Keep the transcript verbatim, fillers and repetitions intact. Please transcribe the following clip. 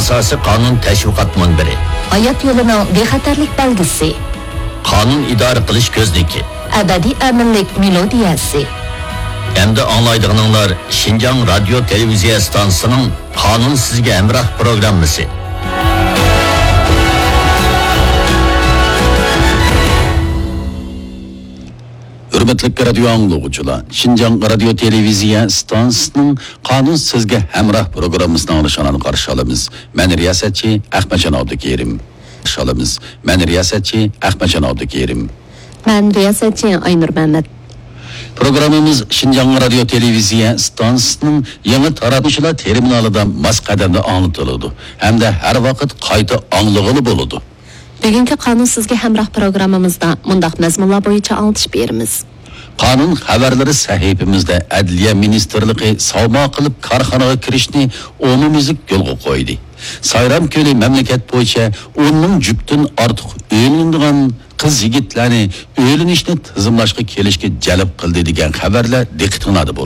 ئاساسىي قانۇن تەشۋىقات مۇنبىرى. ھايات يولىنىڭ بىخەتەرلىك بەلگىسى. قانۇن ئىدارە قىلىش كۆزنىكى. ئەبەدىي ئەمىنلىك مېلودىيەسى. ئەمدى ئاڭلايدىغىنىڭلار شىنجاڭ رادىيو تېلېۋىزىيە ئىستانسىسىنىڭ قانۇن سىزگە ھەمراھ پروگراممىسى. ھۆرمەتلىك رادىيو ئاڭلىغۇچىلار، شىنجاڭ رادىيو تېلېۋىزىيە ئىستانسىسىنىڭ قانۇن سىزگە ھەمراھ پروگراممىسىنى ئاڭلىشىڭلارنى قارشى ئالىمىز. مەن رىياسەتچى ئەخمەتجان ئابدۇكېرىم. قارشى ئالىمىز. مەن رىياسەتچى ئەخمەتجان ئابدۇكېرىم. مەن رىياسەتچى ئاينۇر مەمەت. پروگراممىمىز شىنجاڭ رادىيو تېلېۋىزىيە ئىستانسىسىنىڭ يېڭى تاراتمىشلار تېرمىنالىدا ماس قەدەمدە ئاڭلىتىلىدۇ ھەمدە ھەر ۋاقىت قايتا ئاڭلىغىلى بولىدۇ. بۈگۈنكى قانۇن سىزگە ھەمراھ پروگراممىمىزدا مۇنداق مەزمۇنلار بويىچە ئاڭلىتىش بېرىمىز. قانۇن خەۋەرلىرى سەھىپىمىزدە ئەدلىيە مىنىستىرلىقى ساۋما قىلىپ كارخانىغا كىرىشنى ئومۇميۈزلۈك يولغا قويدى. سايرام كۆلى مەملىكەت بويىچە ئون مىڭ جۈپتىن ئارتۇق ئۆيلىنىدىغان قىز-يىگىتلەرنى ئۆيلىنىشنى تىزىملاشقا كېلىشكە جەلپ قىلدى دېگەن خەۋەرلەر دىققىتىڭلاردا بولدى.